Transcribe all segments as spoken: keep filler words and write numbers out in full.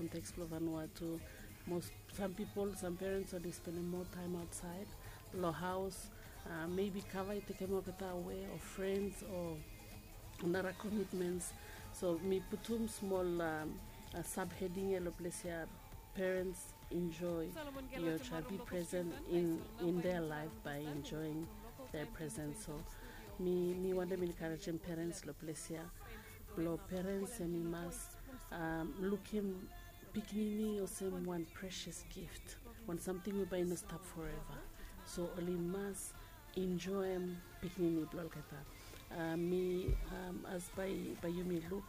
konteks blong Vanuatu. Most, sam pipol, sam parents oli spendem moa taem aotsaed long haos. Maybe kava i tekem olgeta awe o frens o nara komitmens. So mi putum smol subheding ya long ples ya, parents, enjoy your child, be present in, in their life by enjoying their presence. So mi, mi wantem encouragem parents long ples ya blong parents hemi mas lukim pikinini olsem wan precious gift, wan samting we bae i no stap forever. So oli mas enjoem pikinini blong olgeta. Mi, as bae, bae yumi luk,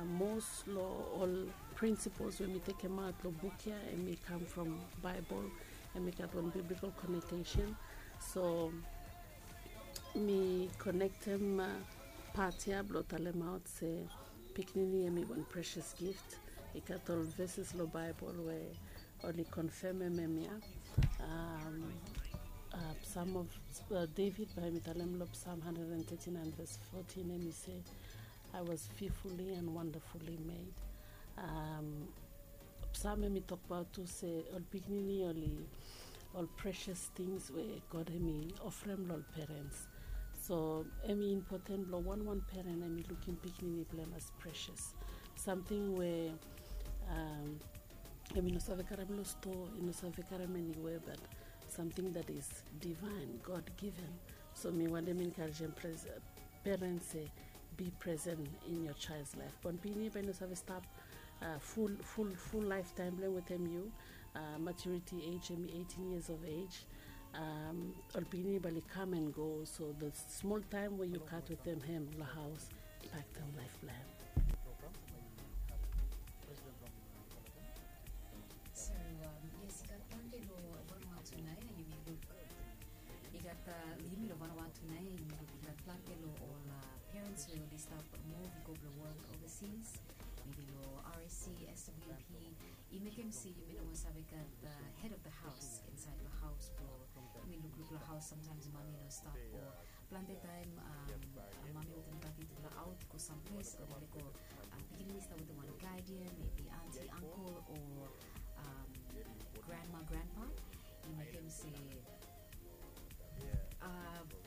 mos long ol principles we mi tekemaot long buk ya, hemi kam from Baebol, hemi gat wan biblical connotation. So mi konektem pat ya blong talemaot se pikinini hemi wan precious gift. I gat ol verses long Baebol we oli konfemem hemia. Psalm of David, bae mi talem long Psalm hundred and thirty-nine verse fourteen, hemi se, "I was fearfully and wonderfully made." Psalm hemi tokbaot tu se ol pikinini oli ol precious things we God hemi ofrem long ol parents. So hemi impoten blong wanwan parent hemi lukim pikinini blong hem as precious, samting we hemi no save karem long stoa, i no save karem eniwea, but something that is divine, God given. So mi wantem encouragem parents se be present in your child's life. Wan pikinini bae i no save stap full, full, full lifetime blong hem wetem yu. Maturity age hemi eighteen years of age. Ol pikinini bae oli come and go, so the small time we yu gat wetem hem long haos impaktem laef blong hem. So yes, i gat plante long Vanuatu nao ya, yumi luk. I gat, long yumi long Vanuatu nao ya, yumi luk i gat plante long ol parents we oli stap move i go blong wok overseas, maybe long R S C, S W P. I mekem se yumi no moa save gat head of the house insaed long haos blong yumi lukluk long haos. Sometimes mami no stap, o plante taem mami wetem dadi i tumbla aot i go samples, oli lego pikinini i stap wetem wan guardian, maybe aunty, uncle, o grandma, grandpa. I mekem se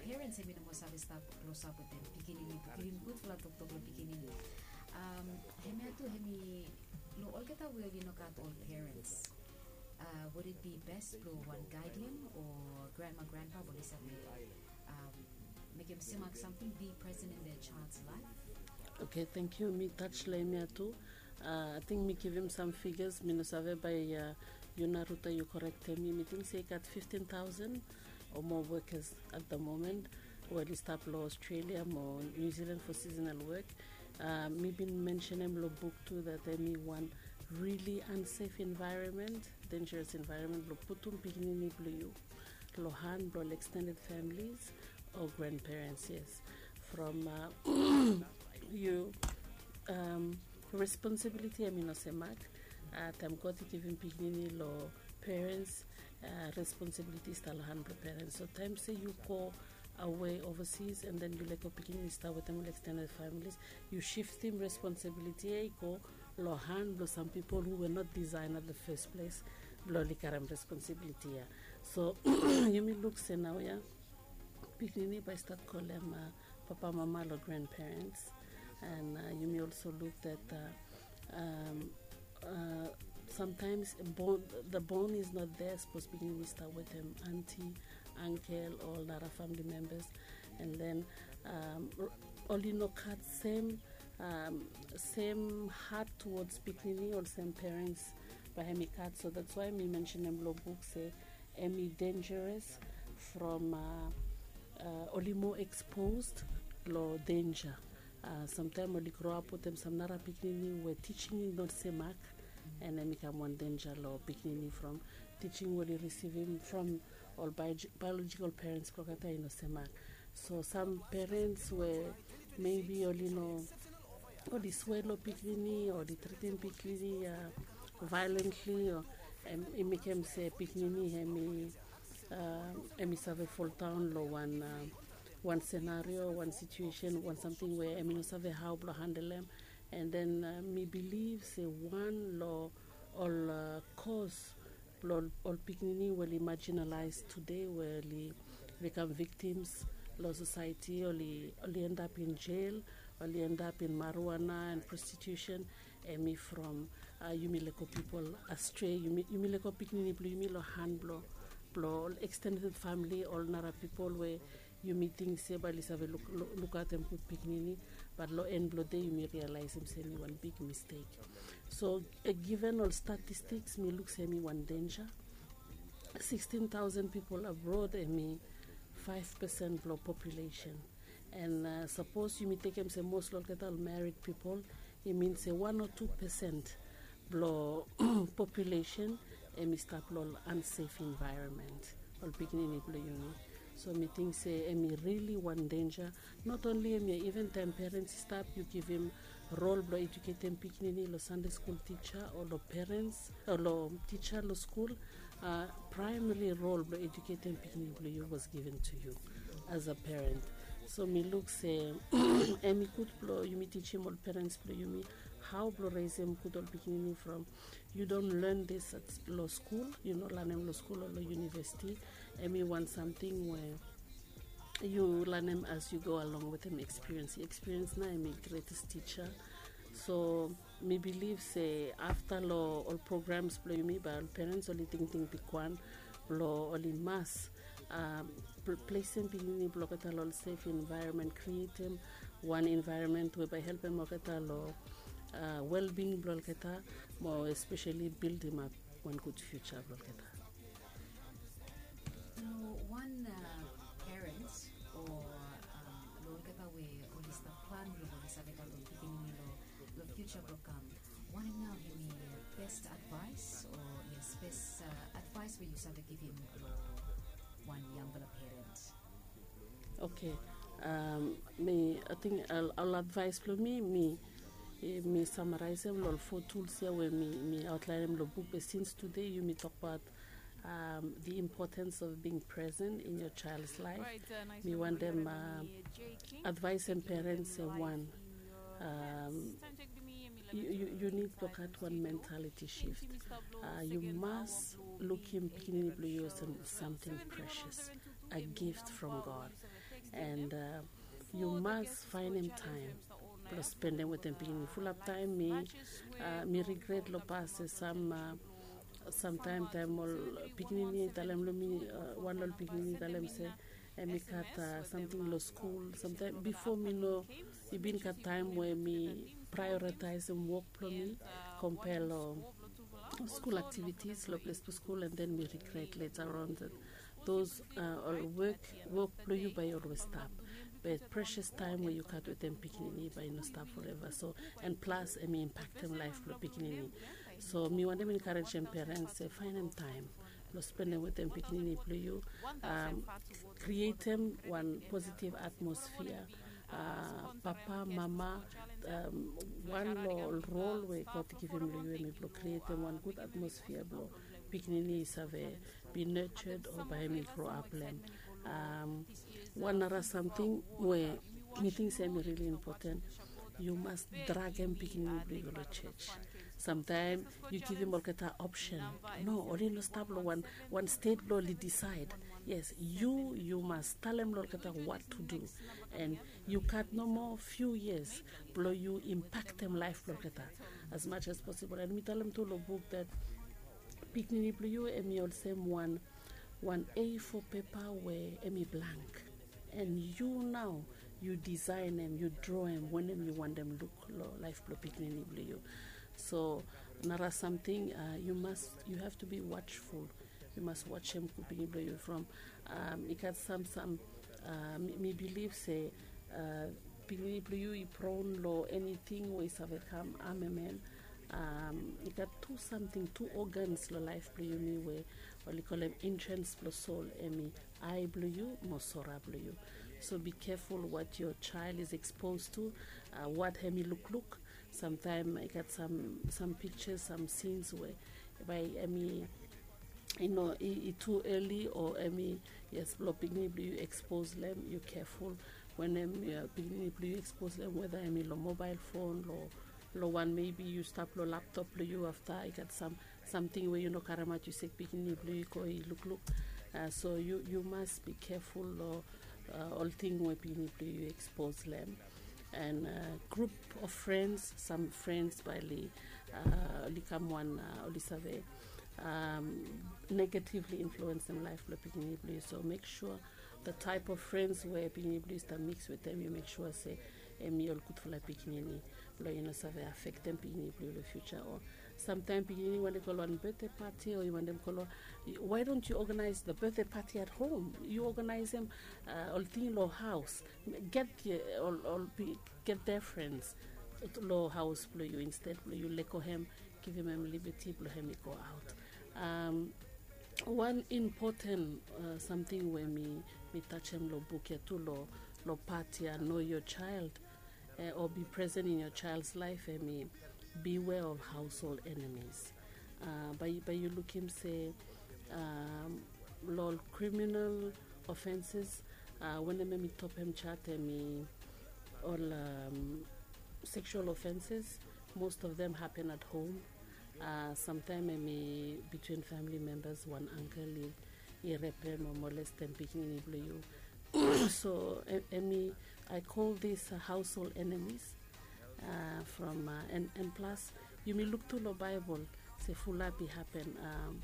parents hemi no moa save stap klosap wetem pikinini blong givim gudfala toktok long pikinini. Hemia tu hemi long olgeta we oli no gat ol parents. Would it be best blong wan guardian o grandma, grandpa blong oli save mekem semak samting, be present in their child's life? Okay, thank you. Mi touch long hemia tu. Ating mi givim sam figures, mi no save, bae yu na Ruta yu korektem mi. Mi ting se i gat fifteen thousand o moa workers at the moment we oli stap long Australia mo New Zealand for seasonal work. Mi bin mensenem long buk tu that hemi wan really unsafe environment, dangerous environment blong putum pikinini blong yu long han blong ol extended families o grandparents, yes. From yu responsibility hemi no semak. Taem God i givim pikinini long parents, responsibility i stap long han blong parents. So taem se yu go awe overseas and then yu lego pikinini i stap wetem ol extended families, yu shiftim responsibility ya i go long han blong sam pipol who were not designed at the first place blong oli karem responsibility ya. So yumi luk se naoia pikinini bae i stat kolem papa, mama, long grandparents. And yumi also luk that sometimes bond, the bond is not there. Sapos pikinini i stap wetem aunty, uncle, o ol nara family members, and then oli no gat sem, sem heart towards pikinini olsem parents bae hemi gat. So that's why mi mensenem long buk se hemi dangerous from oli moa exposed long danger. Samtaem oli groap wetem sam nara pikinini we teaching i no semak, and hemi kam wan danger long pikinini from teaching we oli risivim from ol biological parents blong olgeta i no semak. So sam parents we maybe oli no, oli swea long pikinini, oli tritim pikinini violently, o i mekem se pikinini hemi, hemi save foldaon long wan, wan senario, wan situation, wan samting we hemi no save hao blong handelem. And then uh, mi bilif se wan lo ol uh, kos blo ol pikinini we oli marginalize today, we oli become victims lo society, oli, oli end up in jail, oli end up in marijuana and prostitution. Emi from uh, yumi leko pipol astray, yumi, yumi leko pikinini blo yumi lo han blo blo ol extended family, ol nara pipol we yumi ting se bae oli save lukaotem gud pikinini. Bat lo en blo de yumi realaesem se emi wan big mistake. So uh, given ol statistiks, mi luk se emi wan denja. Sixteen thousand pipol abrod, emi five percent blo population. And uh, sapos yumi tekem se mos lo olgeta ol marid pipol, i min se wan o tu percent blo population emi stap lo ol unsafe environment, ol pikinini blo yumi. So mi ting se emi rili wan denja. Not only emi, even taem perens i stap, yu givim rol blo eduketem pikinini lo Sande skul tija o lo perens o lo tija lo skul. Uh, primary rol blo eduketem pikinini blo yu was given to you as a parent. So mi luk se emi gud blo yumi tijim ol perens blo yumi hao blo resem gud ol pikinini from yu don len dis lo skul, yu no lanem lo skul o lo univesiti. Emi wan samting we yu lanem as yu go along wetem ekspiriens. Ekspiriens nao emi gretes tija. So mi bilif se afta lo ol programs blo yumi, bae ol perens oli tingting bigwan blo oli mas um, plesem pikinini blo olgeta lo ol safe environment, krietem wan environment we bae helpem olgeta lo uh, wellbeing blo olgeta, mo especially bildimap wan gud future blo olgeta. Lo wan uh, parent o um, lo olgeta we oli stap plan blo oli save gat ol pikinini lo lo future blo kam, wanem nao hemi best advice o yes, best uh, advice we yu save givim lo wan yangpela parent? Okay. Um, mi, I think I'll, I'll advise blo mi, mi mi samaraisem lo ol four tools ia we mi, mi outlineem lo buk, be since today yumi tokbaot um, the importance of being present in your child's life. Mi wantem uh, advaisem parents se wan, um, you, you, you need to gat wan mentality shift. Uh, you must lukim pikinini blo yu olsem something precious, a gift from God. And uh, you must find him time blo spendem wetem pikinini. Fulap taem mi uh, mi regret lo pas se sam uh, samtaem taem ol pikinini i talem lo mi, uh, wan lo ol pikinini i talem se emi gat uh, samting lo skul. Samtaem bifo mi no, i bin gat taem we mi prioritaesem wok blo mi kompea lo skul aktivitis lo ples blo skul, and then mi regret later on that those uh, ol wok, wok blo yu bae i olwes stap. Be precious taem we yu gat wetem pikinini bae i no stap forever. So and plus emi impaktem laef blo pikinini. So mi wantem enkarejem parents se faenem taem blo spendem wetem pikinini blo yu, um, krietem wan positive atmosphere. Uh, papa, mama, um, wan lo ol rol we God i givim lo yu emi blo krietem wan gud atmosphere blo pikinini i save be nurtured o bae emi grow up lo hem. Um, wan nara samting we mi ting se emi rili impoten, yu mas dragem pikinini blo yu lo jos. Samtaem yu givim olgeta option. No, oli no stap lo wan, wan stet blo oli disaed. Yes, yu, yu mas talem lo olgeta what to do. And yu gat nomo few years blo yu impaktem laef blo olgeta as much as possible. And mi talem tu lo buk that pikinini blo yu emi olsem wan, wan A four pepa we emi blank. And yu nao yu disaenem, yu droem wanem yu wantem luk lo laef blo pikinini blo yu. So nara samting, uh, you must, you have to be watchful. Yu mas wajem gud pikinini blo yu from, um, i gat sam, sam, uh, mi, mi bilif se uh, pikinini blo yu i pron lo eniting we i save kam amem en. Um, i gat tu samting, tu organs lo laef blo yumi we oli kolem entrans blo sol, emi ae blo yu mo sora blo yu. So be careful what your child is exposed to, uh, what hemi lukluk. Samtaem i gat sam, sam pictures, sam scenes we bae emi, you know, i, i tu early o emi, yes, blo pikinini blo yu expose lo hem, yu careful wanem, uh, pikinini blo yu expose lo hem, whether emi lo mobile phone, lo Lo wan maybe yu stap lo laptop blo yu, afta i gat sam samting we yu no karemaot, yu sek pikinini blo yu i go i lukluk. Uh, so yu yu mas bi keful lo uh, ol ting we pikinini blo yu ekspos lo hem. And uh, group of friends, sam friends bae oli uh, oli kam wan uh, oli save um, negatively influensem laef blo pikinini blo yu. So mek sua the type of friends we pikinini blo yu stap mix wetem, yu mek sua se hemi ol gudfala pikinini blo yu no save afektem pikinini blo yu lo future. O samtaem pikinini wantem go lo wan birthday party o yu wantem go lo, why don't you organize the birthday party at home? Yu organizem uh, ol ting lo haos. Get uh, ol ol pi- get their friends lo haos blo yu instead blo yu lego hem, givim hem liberty blo hem i go out. Um, wan important uh, samting we mi mi tajem lo buk ya tu lo lo part ya, know your child uh, or be present in your child's life, hemi beware of household enemies. Uh, bae bae yu lukim se um, lo ol criminal offenses uh, wanem hemi topem chat hemi ol um, sexual offenses. Most of them happen at home. Uh, samtaem hemi between family members, wan uncle i, i repem o molestem pikinini blo yu. So hemi, I call this uh, household enemies. Uh, from uh, and, and plus yumi luk tu lo Bible se fulap i happen. Um,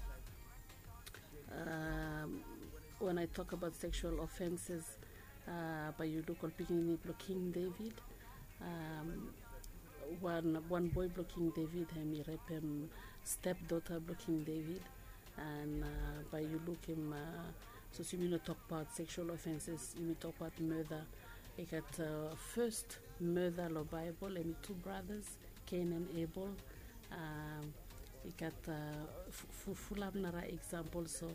um, when I talk about sexual offenses, uh, bae yu luk ol pikinini blo King David. Um, wan wan boe blo King David hemi repem stepdaughter blo King David. And uh, bae yu lukim uh, sapos yumi no tokbaot sexual offenses, yumi tokbaot murder. I gat uh, first murder lo Bible, hemi tu brothers, Cain and Abel. Um, i gat uh, fulap nara example. So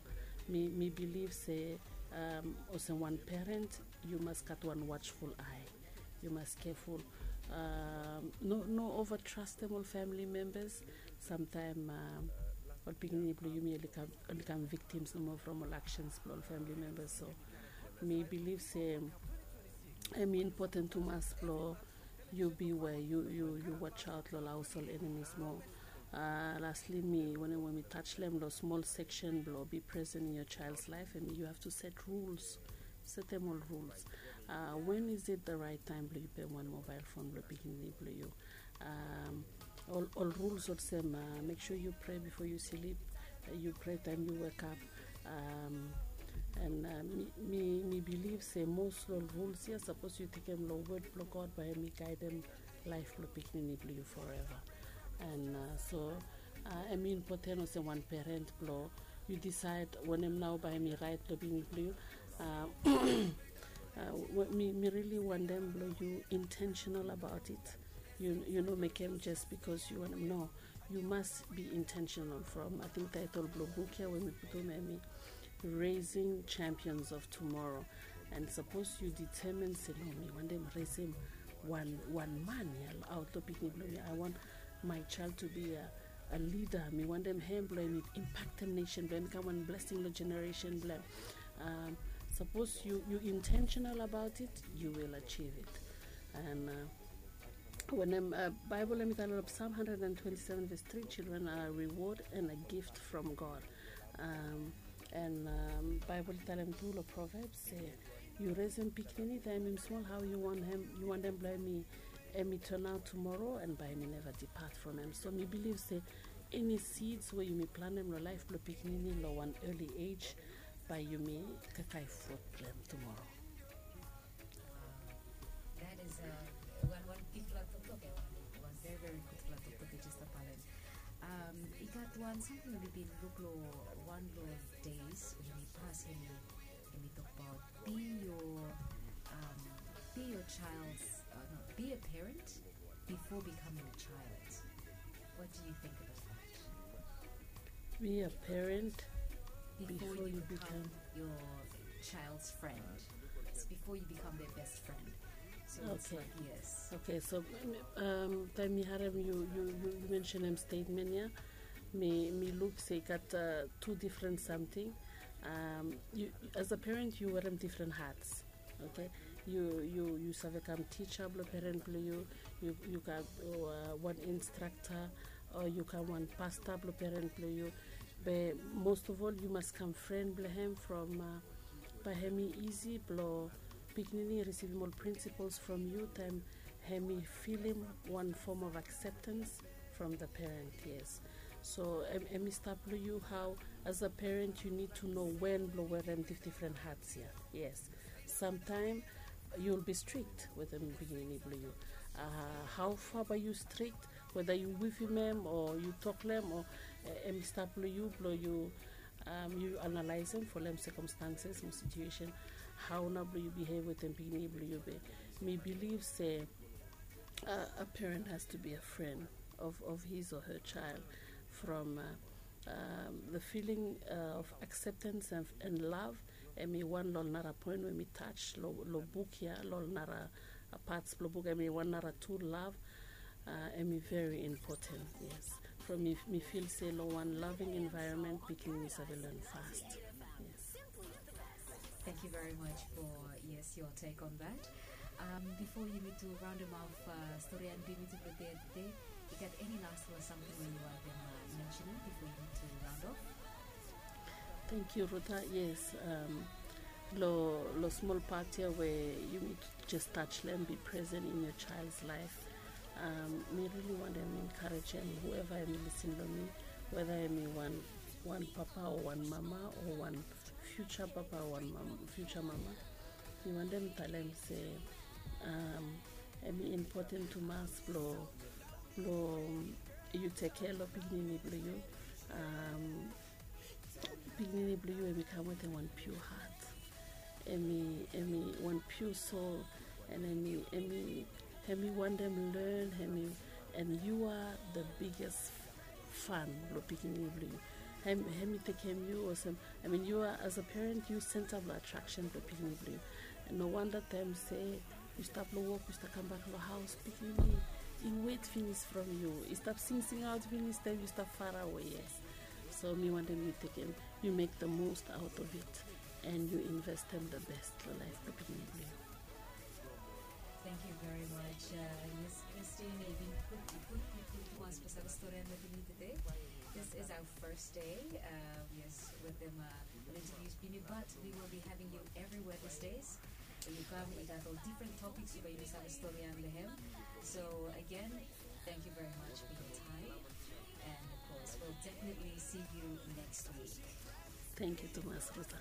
mi, mi bilif se um, olsem wan parent yu mas gat wan watchful eye. Yu mas keful. Um, no, no overtrastem ol family members. Samtaem um, ol pikinini blo yumi oli kam, oli kam victims nomo from ol actions blo ol family members. So mi bilif se hemi important tumas blo yu beware, yu yu yu watch out lo ol household enemies mo. Uh, lastly mi wanem we mi touch lo hem lo small section blo be present in your child's life, and you have to set rules. Setem ol rules. Uh, when is it the right time blo yu pem wan mobile phone blo pikinini blo yu? Um, ol ol rules olsem uh, mek sua yu pray before yu slip. Uh, yu pray taem yu wekap. Um, and uh, mi, mi, mi bilif se most lo ol rules ya sapos yu tekem lo wod blo God bae hemi gaedem laef blo pikinini blo yu forever. And uh, so uh, hemi important olsem wan parent blo yu decide wanem nao bae hemi right lo pikinini blo yu. Uh, uh, mi, mi really wantem blo yu intentional about it. Yu, yu no mekem just because yu wantem, no. Yu mas be intentional from, I think title blo buk ya we mi putum hemi Raising Champions of Tomorrow. And sapos yu determine se no, mi wantem resem wan wan man ya lo aot lo pikinini blo mi. I want my child to be a, a leader. Mi wantem hem blo hem i impactem nation blo hem i kam wan blessing lo generation blo hem. Um, sapos yu, yu intentional about it, you will achieve it. And uh, wanem uh, Bible hemi talem lo Psalm hundred and twenty-seven verse three, children are a reward and a gift from God. Um, and um, Bible i talem tu lo Proverbs se yu resem pikinini taem hemi smol, hao yu want hem, yu wantem blo hemi hemi turn out tomorrow and bae hemi never depart from hem. So mi bilif se any seeds we yumi plantem lo laef blo pikinini lo wan early age, bae yumi kakae fruit blo hem tomorrow. That is a wan wan bigfala toktok ya, wan wan very very gudfala toktok ya, Sister Palen. Um, i gat wan samting we mi bin luk lo wan lo days we mi pas, hemi, hemi tokbaot be your, um, be your child's, uh, no, be a parent before becoming a child. What do you think about that? Be a parent before, before you, you become, become your child's friend. It's before you become their best friend. So it's, okay, like, yes. Okay, so um, taem mi harem yu, yu, yu, yu mentionem statement ya, mi, mi luk se i gat uh, tu different samting. Um, yu, as a parent yu werem different hats. Okay, Yu yu yu save kam tisa blong peren blong yu. Yu yu kam wan instrakta, o yu kam wan pasta blong peren blong yu. Be most of ol yu mas kam fren blong hem from bae hem i isi blong pikinini i risivim ol principles from yu taem hem i filim wan form of acceptance from the parent. Yes. So em i stap long yu hao as a parent yu nid to know wen blong werem difdifren hats ya. Yes. Samtaem yu will be strict wetem pikinini blong yu. Hao fa bae yu strict, weda yu wivim em o yu tok long em o em i stap long yu blong yu yu analaesem folem sekomstanses mo situesen. Hao nao blong yu bihev wetem pikinini blong yu be mi biliv se a parent has to be a fren of his o her child from the filing of acceptance and love. Em i wan long ol nara poen we mi tas long buk ya long ol nara pats blong buk em i wan nara tu love. Em i veri impoten. Yes. From mi fil se long wan laving envaeronmen pikinini save len fast. Yes. Thank you very much for, yes, your take on that. Um, before you need to round them off, uh, story and be to the day, you got any last or something where you want them uh, mentioning before you need to round off? Thank you, Ruta. Yes, um, lo lo small part here where you need to just touch them, be present in your child's life. Um, mi really want them encourage them, whoever I'm listening to me, whether I'm one one papa or one mama or one future papa or one mama, future mama. Mi want them tell them say, um, em important to mas blo blo you take care of pikinini blo you. Um, pikinini blong yu em i kam wetem wan pure heart. Em i em i wan pure soul. And em i em i em i wantem learn em i and you are the biggest fan blong pikinini blong yu. Em em i tekem yu olsem, I mean, you are as a parent you center blong attraction blong pikinini blong yu. And no wonder taem se yu stap long wok yu stap kambak long haus, pikinini i wet finis from yu, i stap singsing aot finis taem yu stap farawe. Yes. So mi wantem yu tekem, yu mek the most out of it and yu investem the best long laef blong pikinini blong yu. Thank you very much. Uh, yes, Christine, i bin gud, gud, gud, gud tumas blong save stori blong pikinini today. This is our first day. Uh, yes, with them uh, interviews pikinini, but we will be having you everywhere these days. Yu kam, i gat ol different topics yu bai yu save stori blong hem. So again, thank you very much for your time. And of course, we'll definitely see you next week. Thank you tumas, Ruta.